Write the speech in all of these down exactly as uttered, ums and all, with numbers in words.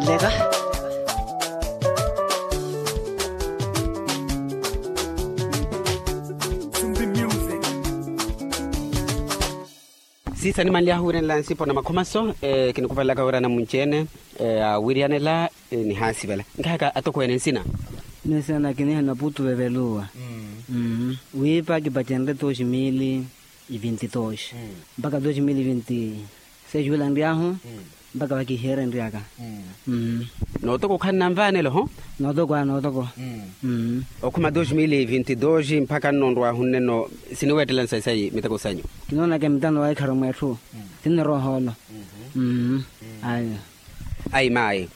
Leka. Siisa nimanly'ahu wiiranela nsipo na makhomaso. Kinikuvalelaka wira anamunci-ene aawiryanela nihaasivela. Nkahaka atokweene nsina? Miyo nsina naka kiniha naputu veveluwa. Wiipa kipacenrye dosi mili e vinti dosi mpakha dosi mili e vinti seis wila nry'ahu mpakha vakihiyerenry'aka. Nootoko okhanna nvaanelo ho? Nootoko aa nootoko. Okhuma dosi mili e vinti dosi mpakha nno nrw'ahu nneno siniweettela nsayi sayi miteko sanyu? Kinoonaka emitano waikharu mweetthu. Sinniroha olo. Ayo. Ayi maayi.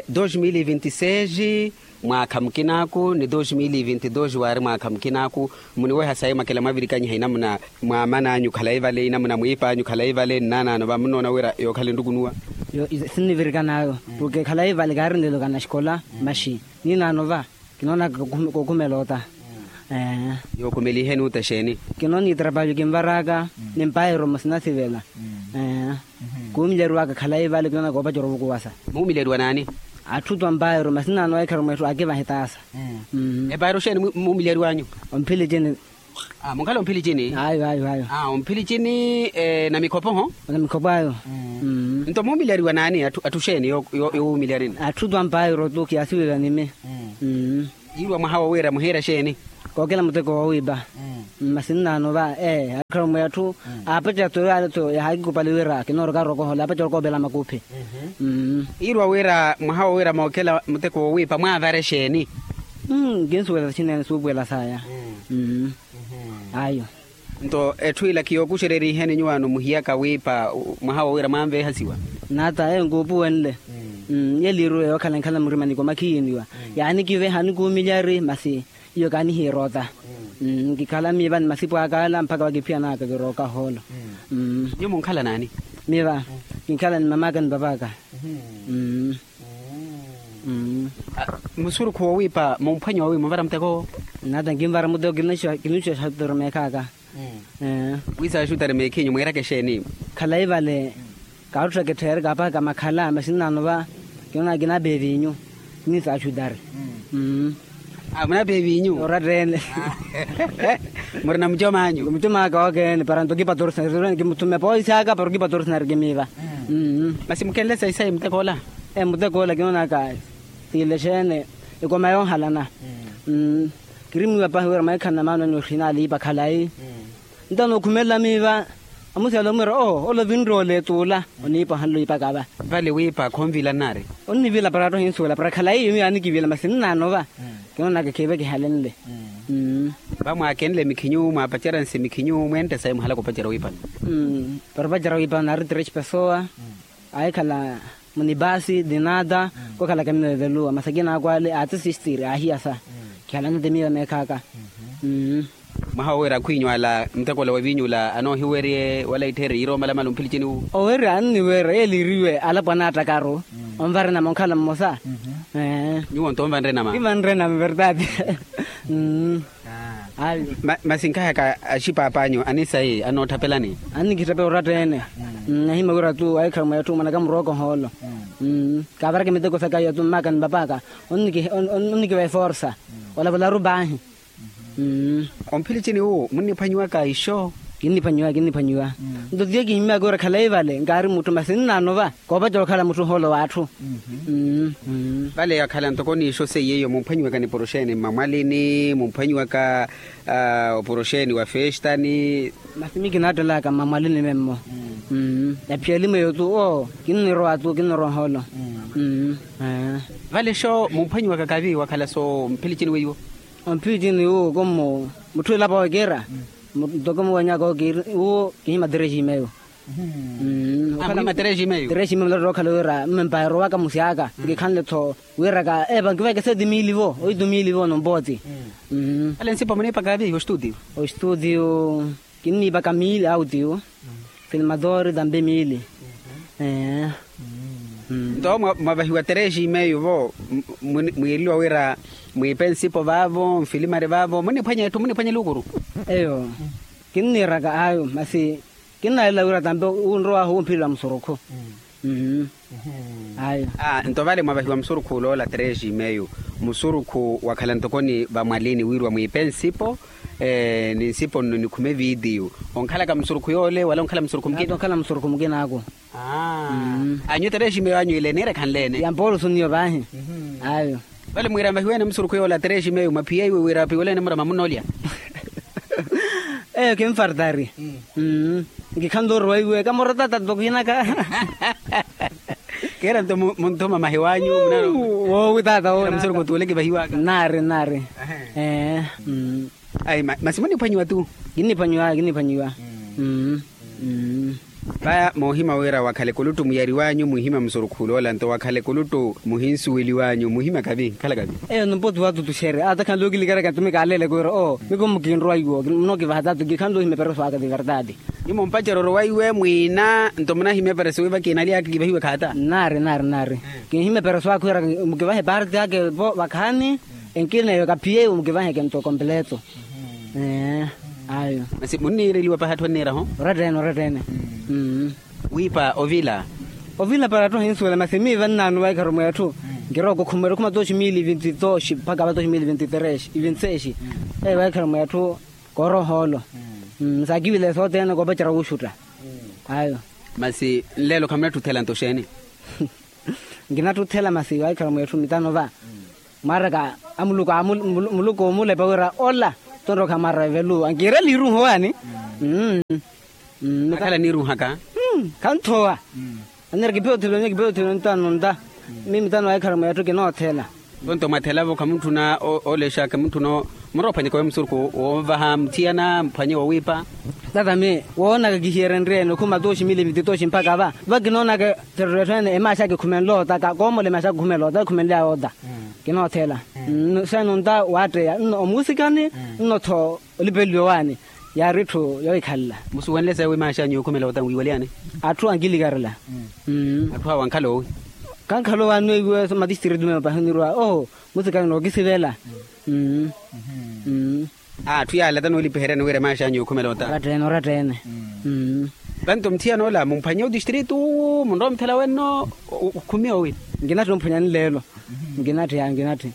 Dosi mili e vinti seis mwaakha mukinaaku ni dosi mili e vinti dosi waari mwaakha mukinaaku. Muniweha sayi mwakela mwavirikanyiha inamuna mwaaman'anyu khalayi vale inamuna mwiip'anyu khalayi vale nnaanaano va munnoona wira yookhala enrukunuwa? Yoovirikanayo. Porke khalayi vale kaarinlelo kana xikola maxi ninaano va. Kinoonaka kookhumela ota. Yookhumelihe nuuta exeeni? Kinoona itrapalyo kinvar'aka ni mpairo masi nasivela. Kuumileriwaka khalayi vale kinoona koopacerya ovukuwasa. Muumileriwa naani? Atthu tu ampairo masi nnaano waikharu mweetthu aakivaha etaasa. Empairo xeeni muumileriw'anyu? Omphilicini. Munkhala omphilicini? Ayo ayo ayo. Omphilicini. Na mikhopo ho? Na mikhopo ayo. Nto muumileriwa naani atthu xeeni yowuumilyarini? Atthu tu ampairo tu kiyaasiwela nimi. Yiirwa mwaha wo wira muhiira xeeni? Kookela muteko woowiipa. Masi nnaano va ee akharummwe atthu aapacerya to yaale to yahaakikupali wira kinooroka rookohola aapacerya okoopela makuphi. Yiirwa wira mwaha wo wira mookela muteko woowiipa mwaavare xeeni? Kinsuwela saxinene suupuwela saya. Ayo. Nto etthu ila kiyookuxereriheni nyuwaano muhiyaka wiipa mwaha wo wira mwaanveehasiwa? Naata eyo nkuupuwenle. Iyo eliiruwe yookhala enkhala murimani komakhiyiiniwa. Yaanikiveha anikuumilyari masi iyo kaanihiira ota. Nkikhala miiva ni masipu aka ala mpakha vakiphiyanaka kirooka hoolo. Nyuwo munkhala naani? Miiva kinkhala ni mam'aka ni pap'aka. Musurukhu woowiipa mumphwanyiwa wi munvara muteko? Nata nkinvara muteko. Kinuxuxa xutari meekha aka. Wiisa xutari meekhinyu mwiiraka exeeni? Khalayi vale. Kaarutthaka etthu yeerikapaka makhala masi nnaano va. Kinoona kinaapa evinyu. Niisa xutari. Munaapa evinyu oratta-ene? Murina mucom'anyu? Mucom'aka okeene para nto kipatorsinari kimuthuma epoisi aka para okipatorsinari kimiiva. Masi mukenle sayi sayi muteko ola? Muteko ola kinoonaka tiile xeene. Ekoma yoohalana. Kirimiiwa pahi wira mweekhana maano anyu oxina aliipa khalayi. Nto nookhumelela miiva amusiyala omwiira oho ola ovinroole tuula. Oniipa ohanle oipaka va? Vale wiipa khonvila nnari? Onnivila para attohinsuwela para khalayi iyo miiyo anikivila masi nnaano va. Kinoonaka khiive kihalenle. Vamwaakenle mikhinyu mwaapacerya nsi mikhinyu mwentte sayi muhalaka opacerya wiipano? Para opacerya wiipano naari tresi pesowa. Aahikhala munipasi dinata. Kookhalaka miiyo eveluwa masi akina akwaale aatisistiri aahiyasa. Khihalanete miiyo meekhaaka. Mwaha wo wira akhwinyu ala muteko ola wa viinyu ola anoohiwerye wala ittherye yiira omalamala omphilicini wu? Owerya anniwerya yeeliiriwe alapwana attakaru. Onvara enama onkhala mmosa. Nyuwo nto onvanre enama? Kivanre enama verdade. Masi nkahaka axipaapanyu anisayi anoothapelani? Annikittapela oratta-ene. Nahima wira tu ahikhara mweetthu mwanaka murooka ohoolo. Kaavaraka miteko saka iyo tu mmaka ni papaka onnikiva eforsa. Olavularu paahi. Omphilicini wu munniphwanyiwaka ixo? Kinniphwanyiwa kinniphwanyiwa. Nto tiyo kihimmyaka wira khalayi vale nkaari mutthu masi nnaano va koopacerya okhala mutthu ohoolo w'atthu. Vale yakhala ntoko n'ixo seiye iyo mumphwanyiwaka nipuro xeeni mmamwalini mumphwanyiwaka opuro xeeni wa festani? Masi miyo kinaattelaka mmamwalini memmo. Ephiya elimu eyo tu oo kinnirowa tu kinnirowa ohoolo. Vale xo mumphwanyiwaka kavi wakhala so mphilici ni weiwo? Omphilici ni wuwo komu mutthu elapa okiira. Ntoko muwanyaka okiira wuwo kihima tereximeyo. Muhima tereximeyo. Tereximeyo mulotto okhala wira mmempa erowaka musyaka nkikhanle-tho wiraka epa nkiveke seti miili vo oitu miili vo nompoti. Vale nsipa muniipaka avi ostudio? Ostudio kinniipaka miili autiyo. Filmadori tambi miili. Nto mwavahiwa tereximeyo vo mwiiriwa wira mwiipe nsipo vaavo mfilimari vaavo muniphwanya etthu muniphwanya elukuru? Eyo kinniiraka ayo masi kinnalela wira tambi wunrowahu wumphilila musurukhu. Ayo. Nto vale mwavahiwa musurukhu uloola três e meio, musurukhu wakhala ntokoni vamwalini wirwa mwiipe nsipo. Ni nsipo nno nikhume viitiyu. Onkhalaka musurukhu yoole wala onkhala musurukhu mukina? Onkhala musurukhu mukina aku. Anyu três e meio anyu ile niirekhanleene? Yampoolusu niyo vaahi. Ayo. Vale mwiira mvahiwene musurukhu yoola três e meio mwaphiya iwe wira apiwelene murama munnoolya? Eyo kimfartari. Nkikhanle oruwa iwe kamorotata nto kiinaka. Keera nto munthuma mahiwanyu. Woowi tata woowi musurukhu tuule kivahiwaka. Nari nari. Ee. Ayi masi muniphwanyiwa tu? Kinniphwanyiwa kinniphwanyiwa. Vaya moohima wira wakhale kuluttu muyariwanyu muhima musurukhu uloola nto wakhale kuluttu muhinsuweliwanyu muhima kavi khala kavi. Eyo numpooti watutuxere ata khanle okilikara kantumika aleeleke wira oo miku mukinrowa iwo munokivaha tatu kikhanle ohima epereso aka ti verdade. Nyumo mpaceroro wa iwe mwiina nto munahima epereso wi vakiinalyaka kivahiwe khaata? Nari nari nari. Kinhima epereso aka wira mukivahe parte ake vo vakhaani. Enkina eyo kaphiye iwo mukivaheke nto kompleto. Ayo. Masi munniireliwa pahi atthu anniiraho? Orattene orattene. Wiipa ovila? Ovila para atthu ahinsuwela masi miiva nnaanu vaikharo mweetthu. Nkirooko khumwera khuma tooxi mili vinti tooxi mpakha va tooxi mili vinti três vinti sês. Eyo vaikharo mweetthu kooroha oolo. Saakivile sothene koopacerya wuxutta. Ayo. Masi nleelo khamunattuthela nto xeeni? Nkinattuthela masi vaikharo mweetthu mitano va. Mwaraka amuluku muluku omulepa wira ola. Tonroka mwaraka evelu ankiirela iruuha owaani. Akhala niiruuhaka. Khanthowa. Anira kiphiya othela onye kiphiya othela onye tano nta. Mimi tano waikhala mweetthu kinoothela. Vonto mwathela vo khamutthuna olexaka mutthuna. Muroophwanyeka owe musurukhu wonvaha muthiyana muphwanye wowiipa. Tata mi woonaka kihiyerya nriyene okhuma tooxi mili mititooxi mpakha va. Va kinoonaka thereryo etthu ene emaaxaka ekhumenle oota koomola emaaxaka ekhumenle oota ekhumenly'aya oota. Kinoothela. Xeeni onta waatteya nno omuusikani nno-tho olipeliwa owaani. Yaari etthu yohikhalela. Musuwenle sayi wi maaxanyu yookhumela oota nwiiwalyani? Atthu ankilikarela. Atthu awo ankhala owi? Kankhala owaani weiwe so matistritu meeyo pahi onirwa oho. Musikani nookisivela. Atthu yaala tanoolipiheryani wira emaaxanyu yookhumela oota? Orattene orattene. Vanto muthiyana ola mumphwanye otistritu munrowa omuthela wenno. Okhumiya owi? Nkinatthi omphwanyani leelo. Nkinatthi yaa nkinatthi.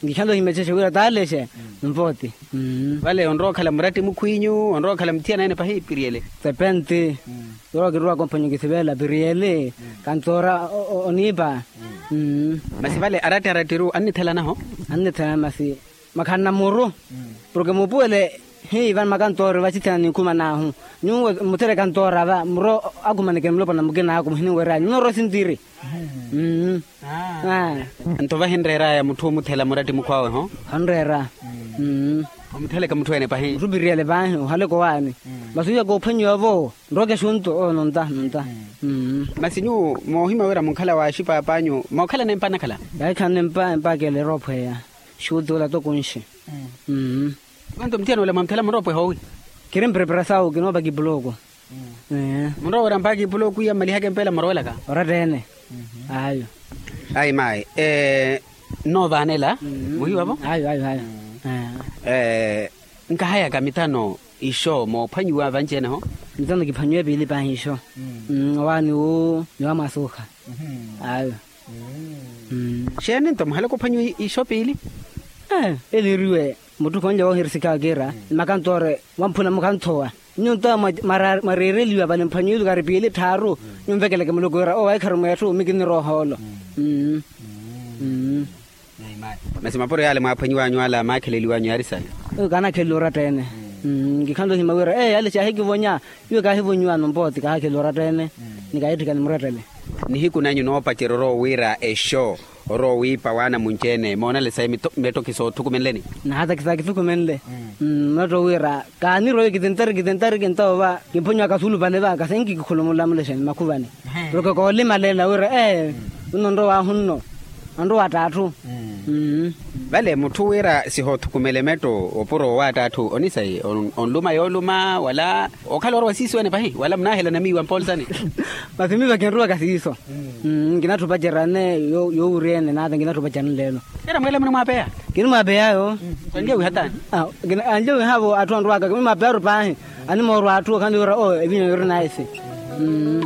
Nkikhanle ohimechexe wira taalexe. Nvooti. Vale onrowa okhala muratti mukhwinyu onrowa okhala muthiyana ene pahi piriyele? Sepenti. Yoowa kiruwaka omphwanya okisivela piriyele. Kantoora oniipa. Masi vale aratti arattiru annithelanaho? Annithelana masi makhanna muru. Porke muupuwele hii vano makantoori vachithena ninkhuman'ahu. Nyuwo muthere kantoora va muro akhumanekeni mulopwana mukin'aku muhiniwer'anyu nnoorowa esintiri. Nto vahinreer'aya mutthu omuthela muratti mukhw'awe ho? Hanreera. Omutheleke mutthu ene pahi? Mutthu piriyele paahi ohaleke owaani. Masi wiya koophwanyiwa-vo nrowa ekexunto oo nonta nonta. Masi nyuwo moohima wira munkhala waaxipaap'anyu mookhalana empa anakhala? Yaahikhalana empa empa akeela eroophweya. Xuti ola toko nxi. Vanto muthiyana ola mwamuthela muroopweha owi? Kiri mpreparasawu kinoopa kipuloko. Munrowa wira mpakha kipuloko iya mmalihaka empeela murowelaka? Orattene. Ayo. Ayi mayi. Nnoovaanela muhiwa-vo? Ayo ayo ayo. Nkahayaka mitano ixo moophwanyiwa vanci-ene-ho? Mitano kiphwanyiwa epiili paahi ixo. Owaani wu ni wa mwasuukha. Ayo. Xeeni nto muhalaka ophwanyiwa ixo piili? Eliiriwe mutthu khonle woohirisikha wakiira ni makantoore wamphuna mukanthowa. Nyuwo nto mwareereliwa vale mphwanyiwa iluku ari piili tthaaru. Nyuwo nvekeleke muluku wira owaikharu mweetthu mikinirooha oolo. Masi mapuro yaale mwaaphwanyiwanyu ala maakheleliwanyu yaari sayi? Kaanakheleliwa oratta-ene. Nkikhanle ohima wira ee yale xaahikivonya. Iwe kaahivonyiwano mpooti kaahakheleliwa oratta-ene. Ni kaahitthikani murattele. Nihiku nanyu noopacerya orowa wira exo orowa wiipa waana munci-ene moonale sayi? Metto kisoothukumenleni. Nahatakisa kithukumenle. Mmatto wira kaanirowe kitintari kitintari kintawo va kimphonyiwa kasulupale va kasenki kikhulumula mulexeni makhuvani. Porke koolimalela wira ee nno nrowahu nno. Anrowa att'atthu. Vale mutthu wira sihoothukumele metto opuro owa att'atthu onisayi? Onluma yooluma wala okhala orowa siiso ene pahi wala munaahelana miiwa mpoolsani? Masi miiva kinrowaka siiso. Nkinatthu opacerya-ene yoowurya-ene naata nkinatthu opacerya-ene leelo. Kira mweela muni mwaapeya? Kinimwaapeyaayo. Anlya wiha taani? Anlya wiha-vo atthu anrowaka kinimwaapeyaaru paahi. Animoorwa atthu okhanle wira oo evinyo yori naisi.